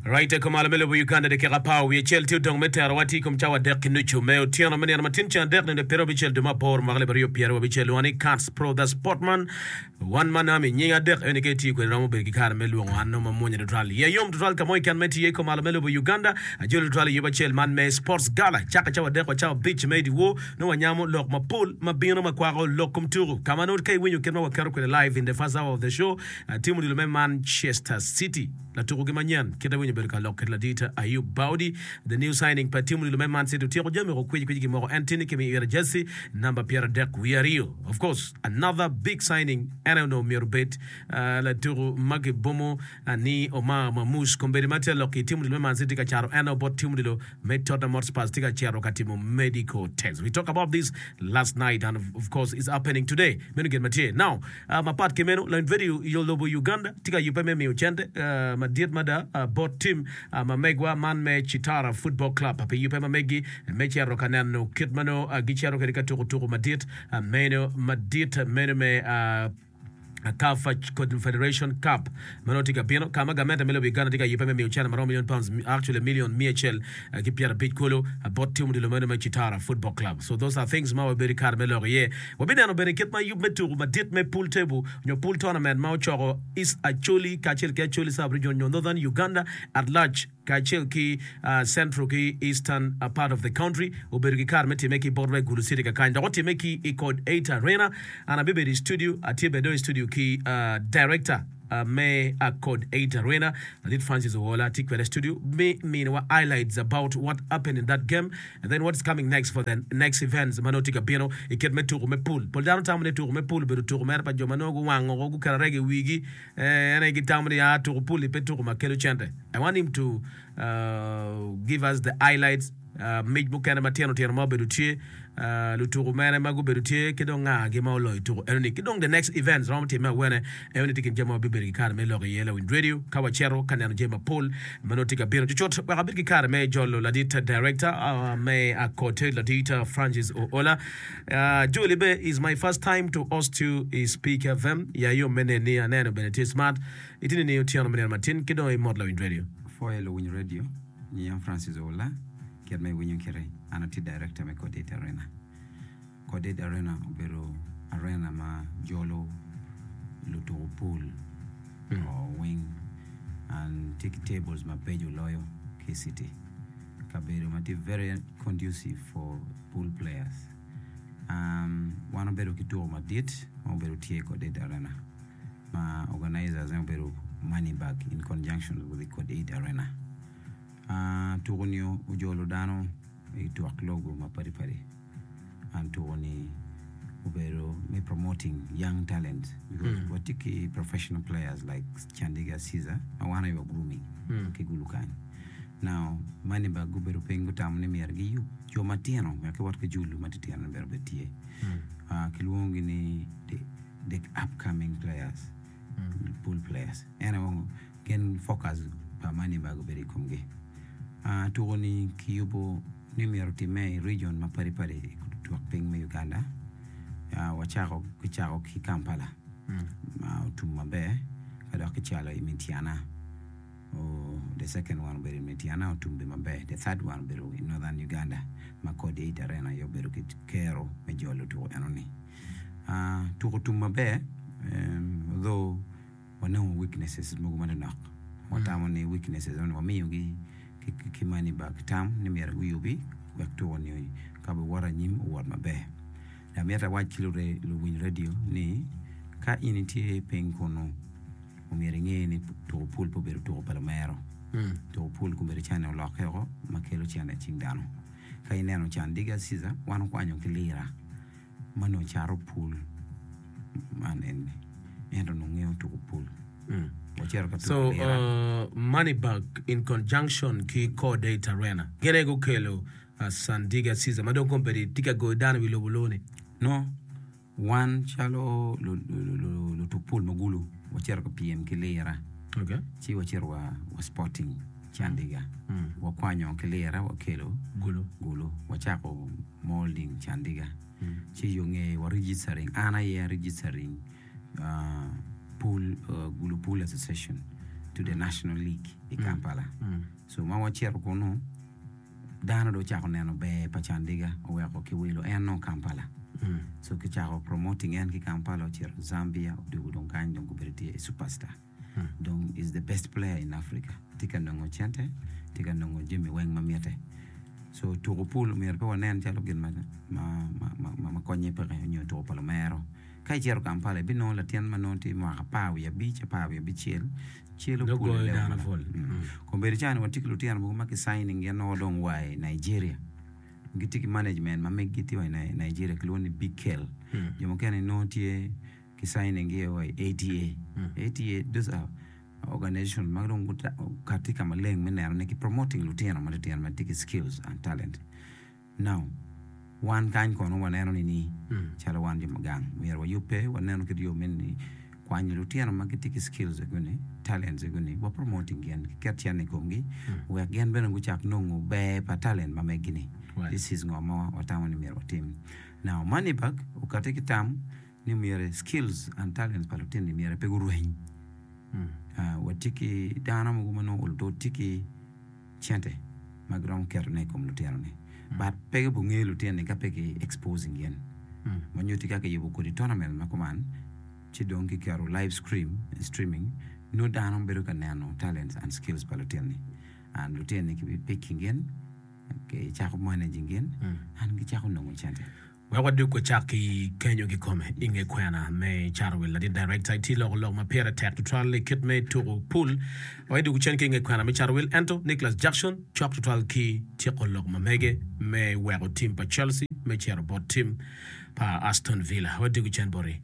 Right i kumalo me lobo Uganda dakika apar wiye acel tye odong me terowa tye i kom cawa adek ki nucu me otyeno me nino ma tin ceng adek nino pyerabicel dwe me aboro mwaka alip aryo pyerabicel lwongo ni Cats Pro The Sportman One Man Army nying adek eni ka itiyo kwede romo bedo ki kare me lwongo an nongo mamwonya tutwal iya yom tutwal ka mo keken ma itye iye i kumalo me lobo Uganda ajoli tutwal i yub acel man me Sports Gala cake cawa adek wa cawa abic me dyewor nongo wanyamo lok mapol ma bino ma kwako lok kom tuku ka ma nongo ka iwinyo kit ma waketo kwede live in the first hour of the show Timo odilo me Manchester City latukogi manyen kit awinyo obedo ka lok kede ladit Ayub Baudi the new signing pa tim odilo me Man City otyeko jami woko kwici kwici gimoko en tye ni kimiyo ite jersey namba 33 of course another big signing en aye onongo myero obed latuko ma kibomo ni Omar Marmoush kombeddi ma tye lok ki tim odilo me Man City tye ka cato en bot tim odilo me Tottenham Hotspurs tye ka cito ka timo medical test. We talk about this last night and of course it's happening today. Meno gin ma tye. Now, uh, mapat ki meno, lony video i lobo Uganda tye ka yubbe me miyo cente uh, madit mada uh, bot tim uh, ma megwa man me Chitara Football Club pi yubbe ma megi me cito ka neno kit ma nongo uh, gicito kwede ka tuko tuko madit uh, meno madit meno me uh, CAF Confederation Cup ma nongo tye ka bino ka ma gamente me lobo Uganda tye ka yubbe me miyo cente ma romo million pounds actually million miya acel ki pyerabic kulu bot tim odilo meno me Chitara Football Club. So those are things ma wabedo ki kare me lok iye. Wabineno bene kit ma yub me tuku madit me pool table nyo pool tournament ma ocoko East Acholi kacel ki Acholi Sub Region nyo Northern Uganda at large kacel ki Central ki Eastern part of the country obedo ki kare me time ki bot wa i Gulu City kakany dok otime ki i Code 8 Arena. An abibedo i studio, atye bene dong i studio ki director me Code 8 Arena Ladit Francis Owola atye kwede i studio me miniwa highlights about what happened in that game and then what's coming next for the next events ma nongo tye ka bino i kit me tuko me pool. Pol dano tamo ni tuko me pool obedo tuko mere pa jo ma nongo guwango guketo arega i wigi. En aye gitamo ni aa tuko pul-li pe tuko ma kelo cente. I want him to give us the highlights, mic mukene matino tino ma obedo tye, lutuku mene ma gubedo tye ki dong nga-gi ma oloyo tuko enoni ki dong the next events romo timme awene. Enoni tye kin jami ma wabibedo ki kare me lok iye lawiny radio ka wacito ka neno jami mapol ma nongo tye ka bino. Cucut wek abed ki kare me jolo ladit director me Akote ladit Francis Oola. Julie be is my first time to host you i Speak FM ya yom me neni aneno bene tye smart itye nining otyeno me nino matin ki dong imot lawiny radio. Pwoyo luwiny radio, nyiya Francis Oula, kit ma iwinyo kite, an atye director me Codate Arena. Codate Arena obedo arena ma jolo lutuku pool weng and tye ki tables mabeco loyo ki i city. Kabedo ma tye very conducive for pool players. Wan wabedo ki tuko madit ma obedo tye i Coded Arena ma organizers ne obedo Money Bag in conjunction with the Coded Arena. Tuko ni ojolo dano i twak logo mapadi padi and tuko ni obedo me promoting young talent because watye ki professional players like Chandiga Caesar ma wan aye wa grooming ki Gulu kany. Now, mani ba gubedo piny gutamo ni myero giyub jo matino wek giwot ki julu matitino ni myero obed tye. Ah, kilwongogi ni the, the upcoming players, pool players. En aye wongo gin focus pa mani ba gubedo i komgi. Ah, tuko ni kiyubo ni myero otimme i region mapadi padi i twak piny me Uganda. Ah, wacako kicako ki Kampala ma otum maber ka dok kicalo i Mityana. The second one obedo i Mityana otum bene maber. The third one obedo i Northern Uganda ma Code 8 Arena aye obedo ki kero me jolo tuko enoni. Tuko otum maber although wanongo weaknesses mogo manonok. Watamo ni weaknesses enoni wamiyogi ki money back tam ni myero guyubi wek tuko ni ka biwoto anyim owot maber. Dok amito awac ki luwiny radio ni ka in itye piny kunu Omyero inge ni tuko pul pe obedo tuko pa lumero. Tuko pul kobedo cane olokke woko ma kelo cene i cing dano. Ka ineno can Diga Caesar, wan okwanyo ki lira ma nongo cato pul man eni, ento onongo ngeyo tuko pul. Wacito ka tuko So, lira. uh, Moneybag in conjunction ki Core Date Arena gin aye gukelo uh, San Diga Caesar ma dong kombeddi tye ka goyo dano i wi lobo loni. No. Wan calo lutuk pul ma Gulu wacito ka pyem ki lira ci wacito wa Sporting Candiga wakwanyo ki lira wakelo Gulu wacako molding Candiga ci yo nge wa registering an aye a registering Gulu Pool Association to the national league. i Kampala. So ma wacito kunu, dano dong ocako neno ber pa Candiga oweko kiwilo en nongo Kampala. So kicako promoting en ki Kampala ocito Zambia odwogo dong kany dong gubedo tye i superstar. Dong is the best player in Africa. Tye ka nongo cente, tye ka nongo jami weng ma mitte. So tuko pul myero pe wanen calo gin ma ma konye peke nyo tuko pa lumero. Ka icito Kampala ibinongo latin ma nongo tye mwaka apar wiye abic, apar wiye abicel celo Nongo pul i goyo level dano ma pol. Kombeddi ca ni watye ki lutino mogo ma ki signing gin nongo dong wa i Nigeria. Gitye ki management ma meggi tye wa i Nigeria kilwongo ni Big Kel. Jo mukene nongo tye ki signing gi wa i ATA. ATA those are organization ma dong gukati ka maleng me neno ni ki promoting lutino matitino ma tye ki skills and talent. Now, wan kany kono waneno ni calo wan jo ma gang myero wayubbe wanenu kit yo me ni kwanyo lutino ma gitye ki skills ego-ni, talents ego-ni wa promoting gin ki ket cente i komgi wek gin bene gucak nongo ber pa talent ma meggi-ni. This is ngo ma watamo ni myero watim. Now, Moneyberg okati ki tam ni myero skills and talents pa lutino-ni myero pe gurweny. Watye ki dano mogo ma nongo olo tye ki cente ma giromo ketone i kom lutino-ni but pe gubingeyo lutino-ni ka pe ki exposing gin ma nyutti ka kiyubo kodi tournament ma kuman ci dong kiketo live stream streaming nongo dano bedo ka neno talents and skills pa lutino-ni and lutino-ni ki picking gin kicako managing gin and gicako nongo cente. Wek wadug wacak ki kenyo kikome i nge kwena me cato wil. Ladit Director itye loko lok ma pire tek tutwal i kit me tuku pul. Wek idug cen ki i nge kwena me cato wil. Ento Nicholas Jackson cok tutwal ki tyeko lok ma mege me weko tim pa Chelsea me cito bot tim pa Aston Villa. Wadug cen boti.